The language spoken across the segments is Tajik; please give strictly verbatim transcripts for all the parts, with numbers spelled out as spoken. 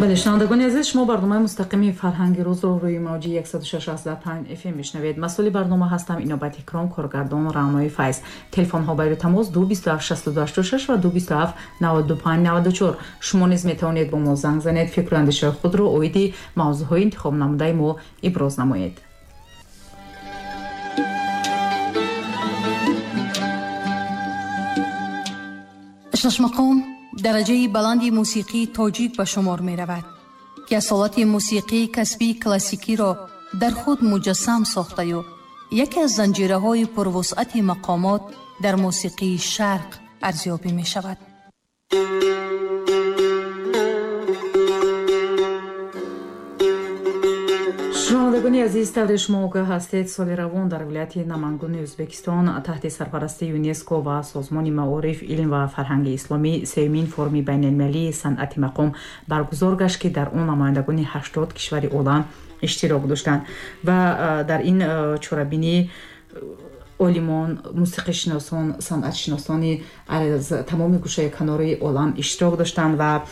Бале, шунавандагони азиз, шумо барномаи мустақими фарҳанги рӯзро рӯи мавҷи яксаду шаш аз панҷ эф эм мешунавед. Масъули барнома ҳастам Инобат Икром, коргардон Раънои Файз. Телефонҳо барои тамос ду бисту ҳафт шасту ду ҳаштоду шаш ва ду бисту ҳафт наваду панҷ наваду чор. Шумо низ метавонед бо мо занг занед, фикру андешаҳои худро оиди мавзӯъҳои интихобнамудаи мо иброз намоед. Шашмақом дараҷаи баланди мусиқии тоҷик ба шумор меравад, ки асолати мусиқии касбии классикиро дар худ муҷассам сохтаю яке аз занҷираҳои пурвусъати мақомот дар мусиқии шарқ арзёбӣ мешавад. Шунавандагони азиз, тавре шумо огоҳ ҳастед, соли равон дар вилояти Намангони Ӯзбекистон таҳти сарпарастии ЮНЕСКО ва Созмони маориф, илм ва фарҳанги исломӣ сеюмин форуми байналмилалии санъати мақом баргузор гашт, ки дар он намояндагони ҳаштод кишвари олам иштирок доштанд ва дар ин чорабинӣ олимон, мусиқишиносон, санъатшиносони аз тамоми гӯшаи канори олам иштирок доштанд ва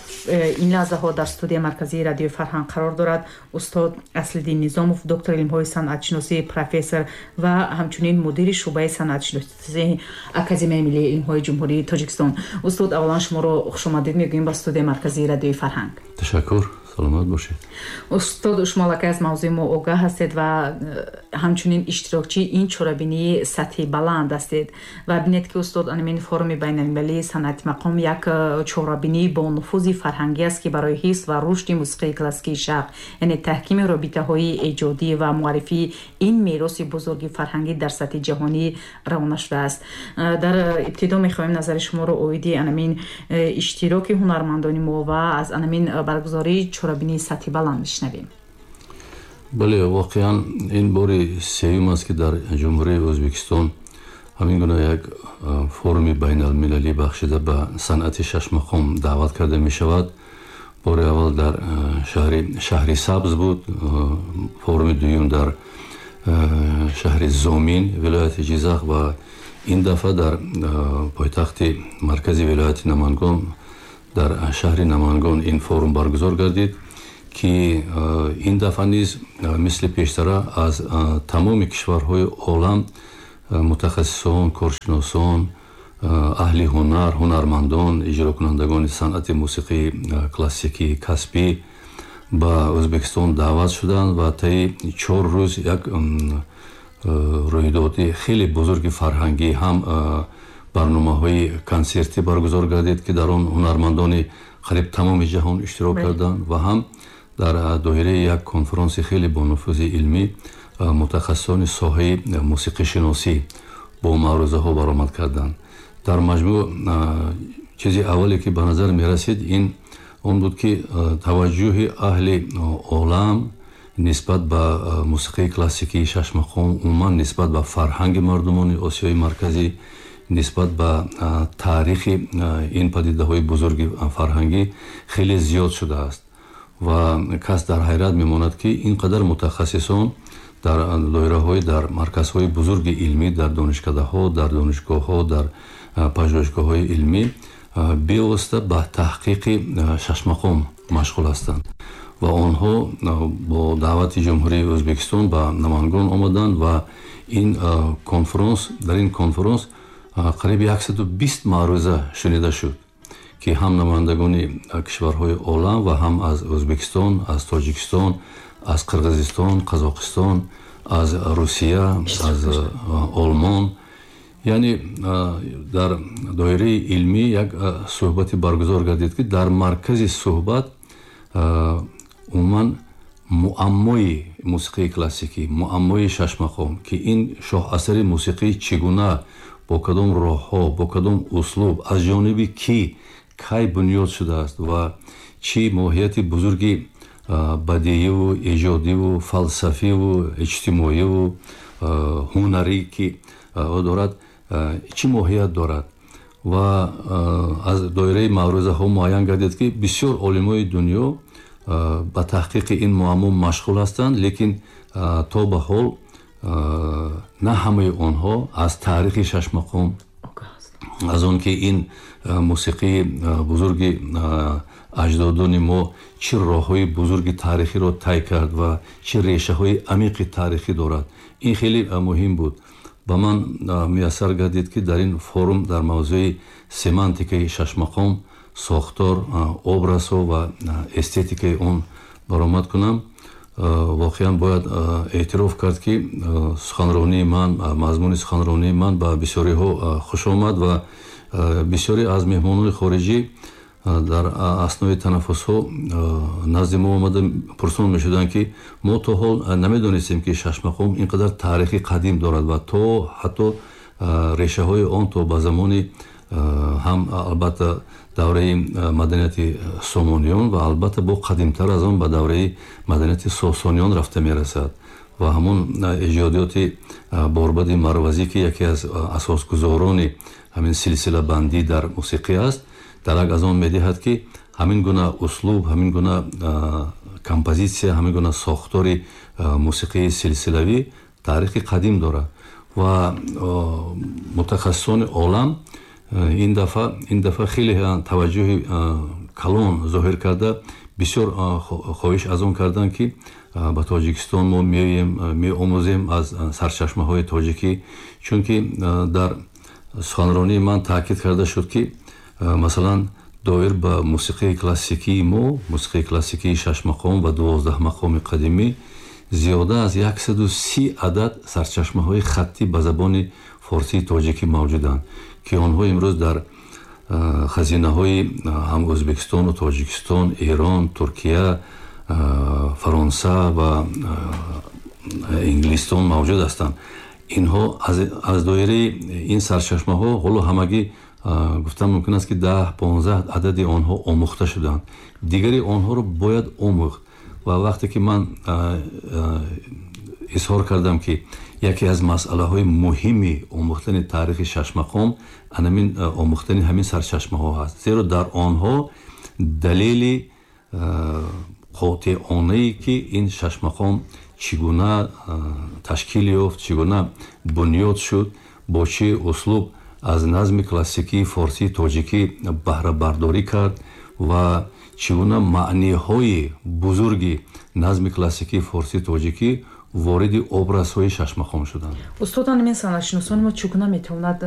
ин лаҳзаҳо дар студияи марказии радиои фарҳанг қарор дорад устод Аслиддин Низомов, доктори илмҳои санъатшиносӣ, профессор ва ҳамчунин мудири шӯъбаи санъатшиносии Академияи миллии илмҳои Ҷумҳурии Тоҷикистон. Устод, аввалан шуморо хушомадид мегӯем ба студияи марказии радиои фарҳанг. Ташаккур, саломат бошед. Устод, шумо аллакай аз мавзӯи мо огаҳ ҳастед ва ҳамчунин иштирокчии ин чорабинии сатҳи баланд ҳастед ва бинед, ки устод, анамин форуми байналмилалии санъати мақом як чорабинии бо нуфузи фарҳангӣ аст, ки барои ҳифз ва рушди мусиқии классикии шарқ, яъне таҳкими робитаҳои эҷодӣ ва муаррифии ин мероси бузурги фарҳангӣ дар сатҳи ҷаҳонӣ равона шудааст. Дар ибтидо мехоҳем назари шуморо оиди анамин иштироки ҳунармандони мо ва аз анамин баргузории чорабинии сатҳи баланд мешунавем. Бале, воқеан ин бори сеюм аст, ки дар Ҷумҳурии Ӯзбекистон ҳамин гуна як форуми байналмилалӣ бахшида ба санъати шашмақом даъват карда мешавад. Бори аввал дар шаҳри шаҳри Сабз буд, форуми дуюм дар шаҳри Зомин, вилояти Ҷизақ, ва ин дафъа дар пойтахти маркази вилояти Намангон, дар шаҳри Намангон ин форум баргузор гардид, ки ин дафъа низ мисли пештара аз тамоми кишварҳои олам мутахассисон, коршиносон, аҳли ҳунар, ҳунармандон, иҷрокунандагони санъати мусиқии классикӣ, касбӣ ба Ӯзбекистон даъват шуданд ва таи чор рӯз як рӯйдоди хеле бузурги фарҳангӣ, ҳам барномаҳои консертӣ баргузор гардид, ки дар он ҳунармандони қариб тамоми ҷаҳон иштирок карданд ва ҳам дар доираи як конференси хеле бонуфузи илмӣ мутахассисони соҳаи мусиқишиносӣ бо маърузаҳо баромад карданд. Дар маҷмӯъ чизи аввале, ки ба назар мерасид, ин он буд, ки таваҷҷӯҳи аҳли олам нисбат ба мусиқии классикии шашмақом, умуман нисбат ба фарҳанги мардумони Осиёи Марказӣ, нисбат ба таърихи ин падидаҳои бузурги фарҳангӣ хеле зиёд шудааст ва кас дар ҳайрат мемонад, ки ин қадар мутахассисон дар доираҳои, дар марказҳои бузурги илмӣ, дар донишкадаҳо, дар донишгоҳҳо, дар пажӯҳишгоҳҳои илмӣ бевосита ба таҳқиқи шашмақом машғул ҳастанд ва онҳо бо даъвати Ҷумҳурии Ӯзбекистон ба Намангон омаданд ва ин конференс, дар ин конференс қариб яксаду бист маъруза шунида шуд, ки ҳам намояндагони кишварҳои олам ва ҳам аз Ӯзбекистон, аз Тоҷикистон, аз Қирғизистон, Қазоқистон, аз Русия, аз Олмон, яъне дар доираи илмӣ як суҳбате баргузор гардид, ки дар маркази суҳбат умуман муаммои мусиқии классикӣ, муаммои шашмақом, ки ин шоҳасари мусиқӣ чӣ гуна, бо кадом роҳҳо, бо кадом услуб, аз ҷониби кӣ, кай бунёд шудааст ва чӣ моҳияти бузурги бадииву эҷодиву фалсафиву иҷтимоиву ҳунарӣ ки дорад, чӣ моҳият дорад. Ва аз доираи маърузаҳо муайян гардид, ки бисёр олимои дунё ба таҳқиқи ин муаммо машғул ҳастанд, лекин то ба ҳол на ҳамаи онҳо аз таърихи шашмақом, аз он ки ин мусиқии бузурги Аҷдодони мо чӣ роҳҳои бузурги таърихиро тай кард ва чӣ решаҳои амиқи таърихӣ дорад. Ин хеле муҳим буд. Ба ман муяссар гардид, ки дар ин форум дар мавзӯи семантикаи шашмақом, сохтор, образҳо ва эстетикаи он баромад кунам. Воқеан, бояд эътироф кард, ки суханронии ман, мазмуни суханронии ман ба бисёриҳо хуш омад ва бисёре аз меҳмонони хориҷӣ дар аснои танаффусҳо назди мо омада пурсон мешуданд, ки мо то ҳол намедонистем, ки шашмақом ин қадар таърихи қадим дорад ва то ҳатто решаҳои он то ба замони ҳам, албатта, давраи маданияти Сомониён ва, албатта, бо қадимтар аз он, ба давраи маданияти Сосониён рафта мерасад ва ҳамон эҷодиёти Борбади Марвазӣ, ки яке аз асосгузорони ҳамин силсилабандӣ дар мусиқӣ аст, дарак аз он медиҳад, ки ҳамин гуна услуб, ҳамин гуна композитсия, ҳамин гуна сохтори мусиқии силсилавӣ таърихи қадим дорад. Ва мутахассисони олам ин дафъа ин дафъа хеле таваҷҷӯҳи калон зоҳир карда, бисёр хоҳиш аз он карданд, ки ба Тоҷикистон мо меоем, меомӯзем аз сарчашмаҳои тоҷикӣ, чунки дар суханронии ман таъкид карда шуд, ки масалан, доир ба мусиқии классикии мо, мусиқии классикии шашмақом ва дувоздаҳмақоми қадимӣ, зиёда аз яксаду си адад сарчашмаҳои хаттӣ ба забони форсии тоҷикӣ мавҷуданд, ки онҳо имрӯз дар хазинаҳои ҳам Ӯзбекистону Тоҷикистон, Эрон, Туркия, Фаронса ва Инглистон мавҷуд ҳастанд. Инҳо аз доираи ин сарчашмаҳо ҳоло ҳамагӣ, гуфтан мумкин аст, ки даҳ понздаҳ адади онҳо омӯхта шуданд, дигари онҳоро бояд омӯхт. Ва вақте ки ман изҳор кардам, ки яке аз масъалаҳои муҳими омӯхтани таърихи шашмақом анамин омӯхтани ҳамин сарчашмаҳо ҳаст, зеро дар онҳо далели қотеонае, ки ин шашмақом чӣ гуна ташкил ёфт, чӣ гуна бунёд шуд, бо чӣ услуб аз назми классикии форсии тоҷикӣ баҳрабардорӣ кард ва чӣ гуна маъниҳои бузурги назми классикии форсии тоҷикӣ вориди образҳои шашмақом шуданд. Устод, ҳамин санъатшиносони мо чӣ гуна метавонад